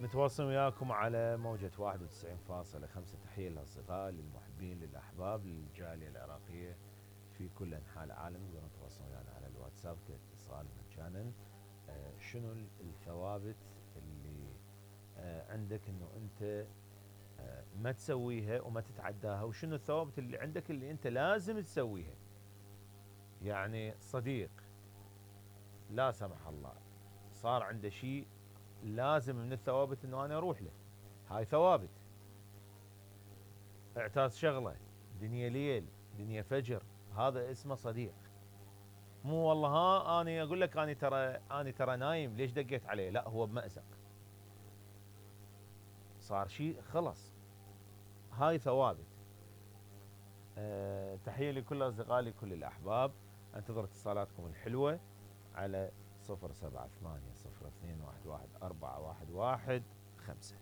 نتواصل وياكم على موجة 91.5. تحية للأصدقاء للمحبين للأحباب للجالية العراقية في كل أنحاء العالم. تقدرون تتواصلون ويانا على الواتساب كاتصال مجانا. شنو الثوابت اللي عندك انه انت ما تسويها وما تتعداها، وشنو الثوابت اللي عندك اللي انت لازم تسويها. يعني صديق لا سمح الله صار عنده شيء لازم من الثوابت انه انا اروح له، هاي ثوابت. اعتاز شغله، دنيا ليل دنيا فجر، هذا اسمه صديق. مو والله ها اني اقول لك اني ترى نايم ليش دقيت عليه، لا هو بمأزق صار شيء خلص، هاي ثوابت. تحية لكل اصدقائي لكل الاحباب. انتظر اتصالاتكم الحلوة على 078 02 11 411 5.